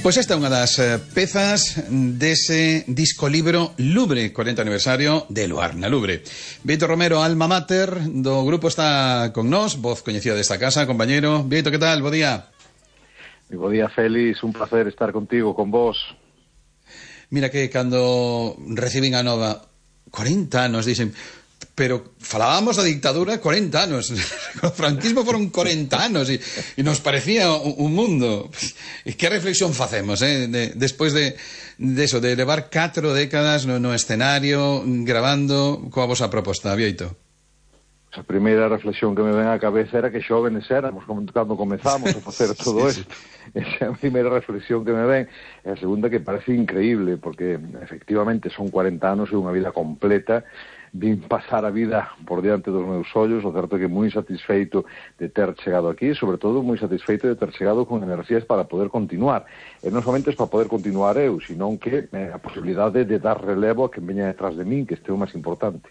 Pois esta é unha das pezas dese disco libro Lubre, 40 aniversario de Luar na Lubre. Víctor Romero, alma mater do grupo, está con nós, voz coñecida desta casa, compañeiro. Víctor, que tal? Bo día. Bo día, Félix, un placer estar contigo, con vos. Mira que cando recibín a nova 40 anos, dixen, pero falábamos da dictadura 40 anos, o franquismo foron 40 anos e nos parecía un mundo. E que reflexión facemos, despois de eso, de levar 4 décadas no escenario grabando coa vosa proposta, Vieito? A primeira reflexión que me ven á cabeza era que xóvenes éramos cando comezamos a facer todo isto. Esa é a primeira reflexión que me ven. E a segunda, que parece increíble, porque efectivamente son 40 anos e unha vida completa. Vin pasar a vida por diante dos meus ollos. O certo é que moi satisfeito de ter chegado aquí, e sobre todo moi satisfeito de ter chegado con enerxías para poder continuar. E non somente para poder continuar eu, senón que a posibilidade de dar relevo a quen veña detrás de min, que este é o máis importante.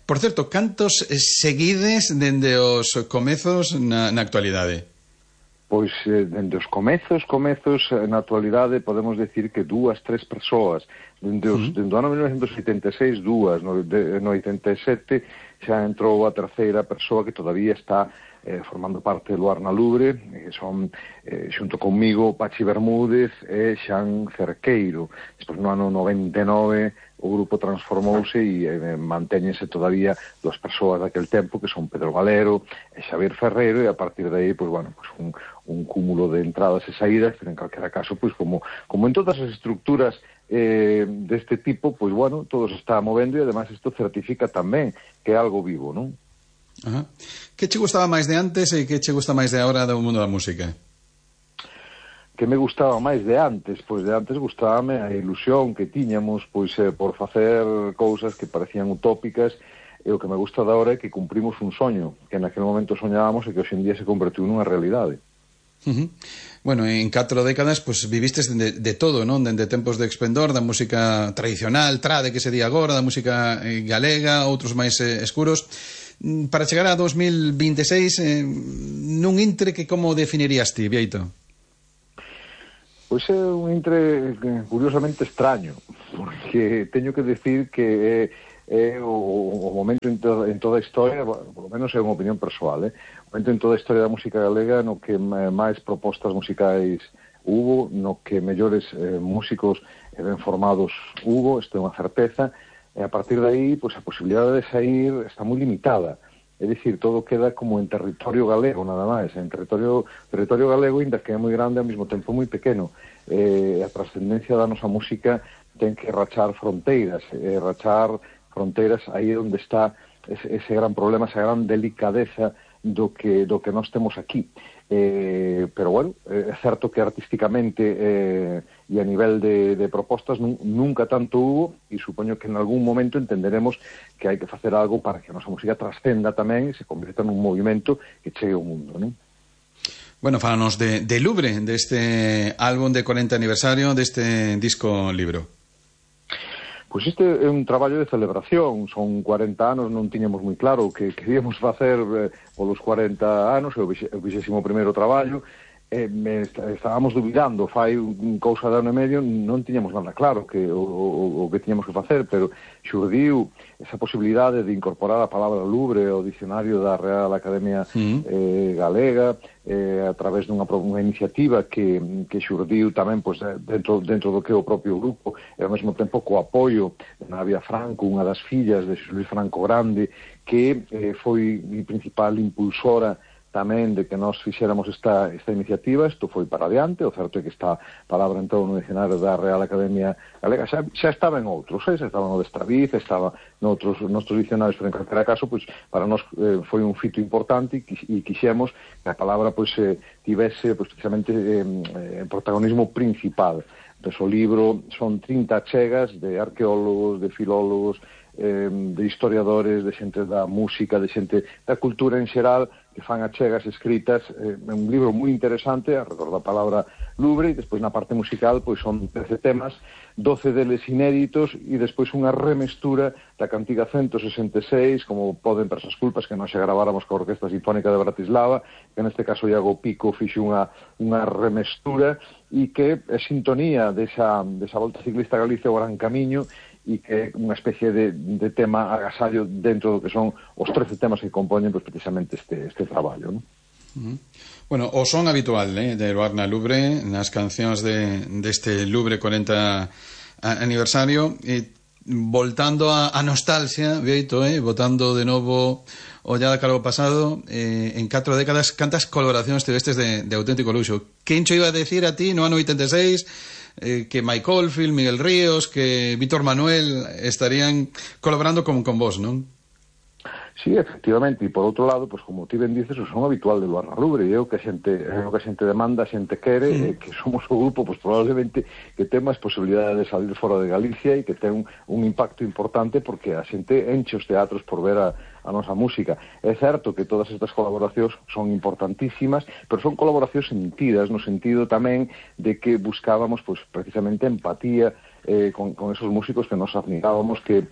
Por certo, cantos seguides dende os comezos na actualidade? Pois, dende os comezos, na actualidade, podemos decir que 2, 3 persoas. Dende o ano 1986, 2, no 87, xa entrou a terceira persoa que todavía está formando parte do Luar na Lubre, que son, xunto conmigo, Pachi Bermúdez e Xan Cerqueiro. Despois, no ano 99, o grupo transformouse e mantéñense todavía 2 persoas daquel tempo, que son Pedro Valero e Xavier Ferreiro, e a partir de aí, pois, bueno, pues un cúmulo de entradas e saídas, pero en calquera caso, pois, como en todas as estructuras deste tipo, pois, bueno, todo se está movendo, e además isto certifica tamén que é algo vivo, non? Ajá. Que che gustaba máis de antes e que che gusta máis de agora do mundo da música? Que me gustaba máis de antes? Pois de antes gustábame a ilusión que tiñamos, pois por facer cousas que parecían utópicas, e o que me gusta de agora é que cumprimos un soño, que naquele momento soñábamos e que hoxe en día se convertiu nunha realidade. Bueno, en 4 décadas pues vivistes de todo, non? Dende tempos de esplendor, da música tradicional, trade que se di agora, da música galega, outros máis escuros, para chegar a 2026, nun intre que como definirías ti, Vieito? Pois é un intre curiosamente extraño, porque teño que decir que é o momento en toda a historia, por lo menos é unha opinión persoal, o momento en toda a historia da música galega no que máis propostas musicais hubo, no que mellores músicos ben formados hubo, isto é unha certeza, e a partir de aí, pois, a posibilidade de sair está moi limitada. É dicir, todo queda como en territorio galego, nada máis. En territorio galego, ainda que é moi grande, ao mesmo tempo moi pequeno. A trascendencia da nosa música ten que rachar fronteiras aí onde está ese gran problema, esa gran delicadeza do que nós temos aquí. Pero, bueno, é certo que artísticamente e a nivel de propostas nunca tanto hubo, e supoño que en algún momento entenderemos que hai que facer algo para que a nosa música trascenda tamén e se convirta nun movimento que chegue ao mundo, non? Bueno, fálanos de Lubre, deste álbum de 40 aniversario, deste disco libro. Pois este é un traballo de celebración, son 40 anos, non tiñamos moi claro o que queríamos facer polos 40 anos, é o 21º traballo, estábamos dubidando, fai cousa de ano e medio, non tiñamos nada claro o que tiñamos que facer, pero xurdiu esa posibilidade de incorporar a palabra Lubre ao dicionario da Real Academia Galega, a través dunha iniciativa que xurdiu tamén pois, dentro do que é o propio grupo, e ao mesmo tempo co apoio de Navia Franco, unha das fillas de Luis Franco Grande, que foi a principal impulsora tamén de que nós fixéramos esta iniciativa. Isto foi para adiante, o certo é que esta palabra entrou no dicionario da Real Academia Galega, xa estaba en outros, xa estaba no de Estraviz, estaba noutros dicionarios, pero en calquera caso, pois, para nós foi un fito importante e quixemos que a palabra pois tivese pois, precisamente protagonismo principal. Pois, o libro son 30 achegas de arqueólogos, de filólogos, de historiadores, de xente da música, de xente da cultura en xeral, que fan achegas escritas, un libro moi interesante, alrededor da palabra Lubre, e despois na parte musical pois son 13 temas, 12 deles inéditos e despois unha remestura da cantiga 166, como poden persas culpas, que nós xa graváramos coa Orquesta Sinfónica de Bratislava, que neste caso Iago Pico fixe unha remestura e que é sintonía desa Volta Ciclista a Galicia o Gran Camiño, e que é unha especie de tema agasallo dentro do que son os 13 temas que compoñen pues, precisamente este traballo, non? Bueno, o son habitual de Luarna Lubre nas cancións deste Lubre 40 aniversario, voltando a nostalgia, Bieito, botando de novo ollada cara ao pasado, en 4 décadas cantas colaboracións tivestes de auténtico luxo. Quen cho iba a decir a ti no ano 86 que Mike Oldfield, Miguel Ríos, que Víctor Manuel estarían colaborando con vos, non? Sí, efectivamente, e por outro lado, pues, como ti ben dices, o son habitual de Luarna Lubre, e é o que a xente demanda, a xente quere, que somos o grupo, pues, probablemente que ten máis posibilidade de salir fora de Galicia e que ten un impacto importante porque a xente enche os teatros por ver a nosa música. É certo que todas estas colaboracións son importantísimas, pero son colaboracións sentidas, no sentido tamén de que buscábamos, pues, precisamente empatía con esos músicos que nos admirábamos, que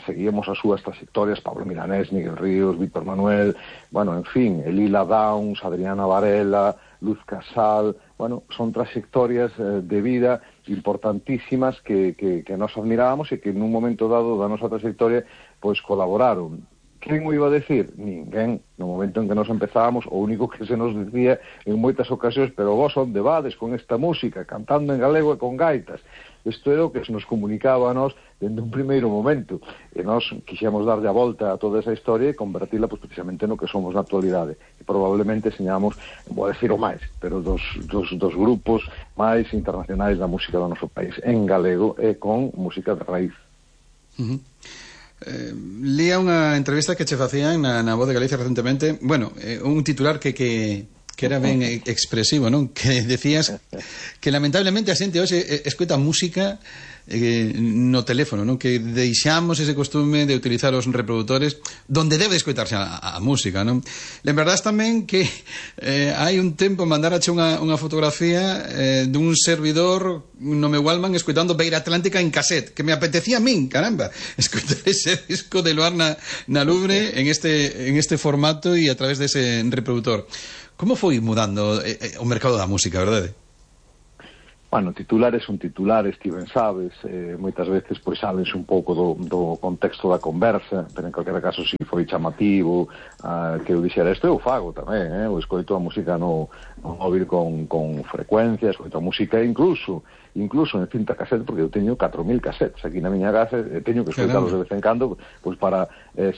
seguíamos as súas trayectorias, Pablo Milanés, Miguel Ríos, Víctor Manuel, bueno, en fin, Elila Downs, Adriana Varela, Luz Casal, bueno, son trayectorias de vida importantísimas que nos admirábamos e que nun momento dado da nosa trayectoria, pois colaboraron. Quen o iba a decir? Ninguén. No momento en que nos empezábamos, o único que se nos dicía en moitas ocasións, pero vos onde vades con esta música, cantando en galego e con gaitas. Isto era o que se nos comunicaba a nós dende un primeiro momento. E nós quixemos darlle a volta a toda esa historia e convertila pues, precisamente no que somos na actualidade. E probablemente señamos, vou decir o máis, pero dos grupos máis internacionais da música do noso país, en galego e con música de raíz. Lía unha entrevista que che facían na Voz de Galicia recentemente, bueno, un titular que era ben expresivo, non? Que decías que lamentablemente a xente hoxe escoita música no teléfono, non? Que deixamos ese costume de utilizar os reproductores donde debe escoitarse a música, non? Lembrarás tamén que hai un tempo mandarache unha fotografía dun servidor no meu Wallman escoitando Beira Atlántica en cassette, que me apetecía a min, caramba, escoitar ese disco de Luarna na Lubre en este formato e a través dese reproductor. Como foi mudando o mercado da música, verdade? Bueno, titulares son titulares, ti ben sabes, moitas veces pois sabense un pouco do contexto da conversa, pero en calquera caso si foi chamativo que eu dixera isto, eu fago tamén, eu escoito a música no móvil con frecuencia, escoito a música incluso en cinta cassette, porque eu teño 4.000 cassettes aquí na miña casa, teño que escoitalos de vez en cando pois para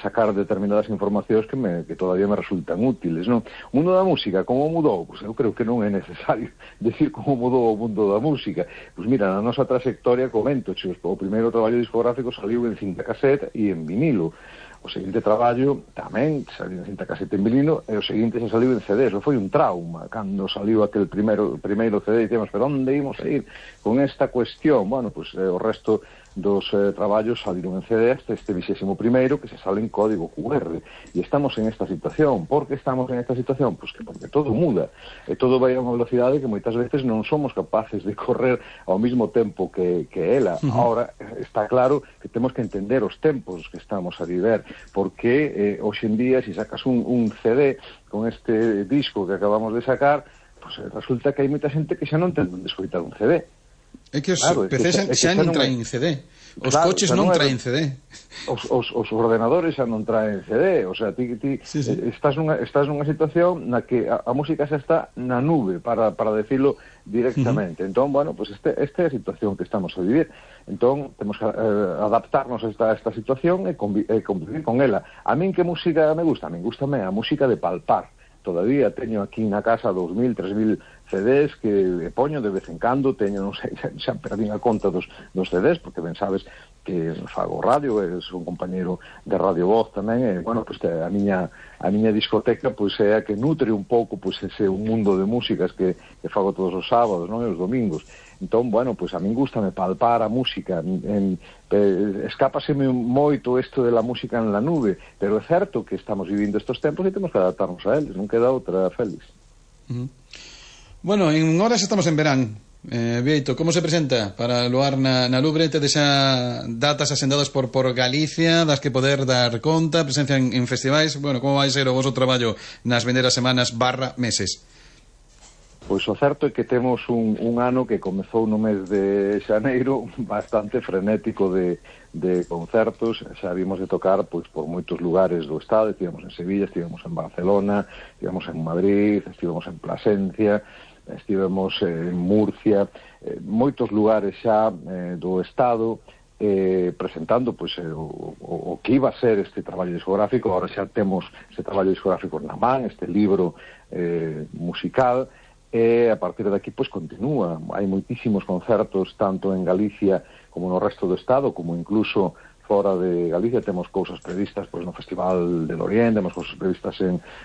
sacar determinadas informacións que todavía me resultan útiles, non? O mundo da música, como mudou? Pois eu creo que non é necesario decir como mudou o mundo da música. Pois mira, na nosa trayectoria comento, o primeiro traballo discográfico saliu en cinta cassette e en vinilo. O seguinte traballo tamén saliu en cinta cassette en vinilo e o seguinte xa saliu en CD. Eso foi un trauma cando saliu aquel primeiro CD e dicemos, pero onde imos a ir con esta cuestión? Bueno, pues o resto dos traballos saliron en CD hasta este 21º que se sale en código QR e estamos en esta situación. Por que estamos en esta situación? Pues porque todo muda e todo vai a unha velocidade que moitas veces non somos capaces de correr ao mesmo tempo que ela. Ahora está claro que temos que entender os tempos que estamos a viver, porque hoxe en día se sacas un CD con este disco que acabamos de sacar, pues resulta que hai moita xente que xa non ten onde escoitar un CD. É que os PCs xa non traen CD. Os coches non traen CD. Os ordenadores xa non traen CD. O sea, ti estás nunha situación na que a música xa está na nube, para decirlo directamente. Entón, bueno, pues esta é a situación que estamos a vivir. Entón, temos que adaptarnos a esta situación e convivir con ela. A min que música me gusta? A min gustame a música de palpar. Todavía teño aquí na casa 2.000, 3.000 CDs que poño de vez en cando, teño, non sei, xa perdín a conta dos CDs, porque ben sabes que fago radio, son compañeiro de Radio Voz tamén, e, bueno, pues, a miña discoteca, pois, é a que nutre un pouco, pois, ese un mundo de músicas que fago todos os sábados, non, e os domingos. Entón, bueno, pois a min gustame palpar a música, escápaseme moito isto de la música en la nube, pero é certo que estamos vivindo estos tempos e temos que adaptarnos a eles, non queda outra, Félix. Bueno, en horas estamos en verán. Vieito, como se presenta para Luar na Lubre? Tedes xa datas asendadas por Galicia das que poder dar conta, presencia en festivais. Bueno, como vai ser o vosso traballo nas vindeiras semanas / meses? Pois o certo é que temos un ano que comezou no mes de xaneiro bastante frenético de concertos. Xa vimos de tocar pois por moitos lugares do estado. Estivemos en Sevilla, estivemos en Barcelona, estivemos en Madrid, estivemos en Plasencia, estivemos en Murcia, moitos lugares xa do estado, presentando pois o que iba a ser este traballo discográfico. Agora xa temos este traballo discográfico na man, este libro musical, e a partir de aquí pois continúa. Hai moitísimos concertos tanto en Galicia como no resto do estado, como incluso fora de Galicia. Temos cousas previstas pois no Festival del Oriente, temos cousas previstas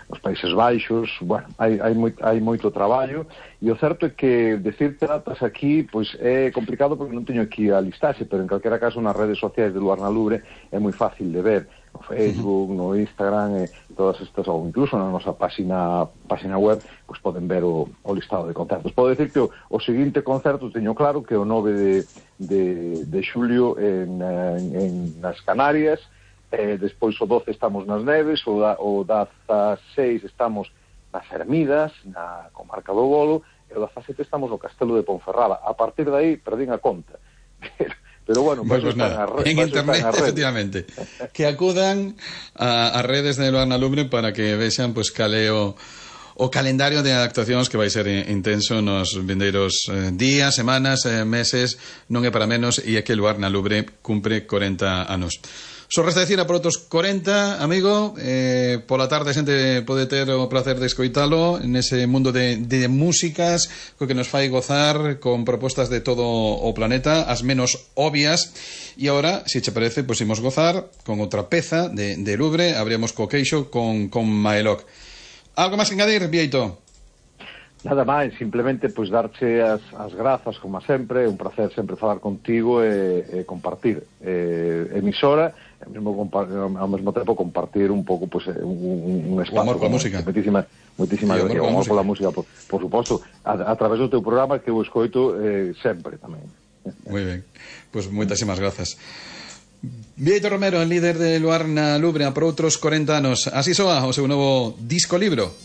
nos Países Baixos. Bueno, hai moito traballo, e o certo é que decirte datas aquí pois é complicado porque non teño aquí a listaxe, pero en calquera caso nas redes sociais de Luar na Lubre é moi fácil de ver, no Facebook, no Instagram, todas estas, ou incluso na nosa página web, pois poden ver o listado de concertos. Podo decir que o seguinte concerto teño claro que o 9 de xulio nas Canarias, despois o 12 estamos nas Neves, o 16 estamos nas Ermidas, na comarca do Bolo, e o 17 estamos no Castelo de Ponferrada. A partir de aí perdín a conta. Pero bueno, pues nada, en internet, efectivamente, que acudan a redes de Luar na Lubre para que vexan pues caleo o calendario de actuacións que vai ser intenso nos vindeiros días, semanas, meses. Non é para menos, e é que Luar na Lubre cumpre 40 anos. Só resta decir a por outros 40, amigo. Pola tarde a xente pode ter o placer de escoitalo nese mundo de músicas co que nos fai gozar con propostas de todo o planeta, as menos obvias. E agora, se che parece, pois imos gozar con outra peza de Lubre. Abrimos co queixo con Maelok. Algo máis que engadir, Vieito? Nada máis, simplemente pois darche as grazas, como sempre. É un placer sempre falar contigo e compartir emisora, ao mesmo tempo compartir un pouco pois, un espazo. O amor pola música. Moitísima gracia. O amor pola música, por suposto, a través do teu programa, que eu escoito sempre tamén. Moi ben, pois moitísimas grazas. Vieito Romero, líder de Luar na Lubre, por outros 40 anos. Así soa o seu novo disco libro.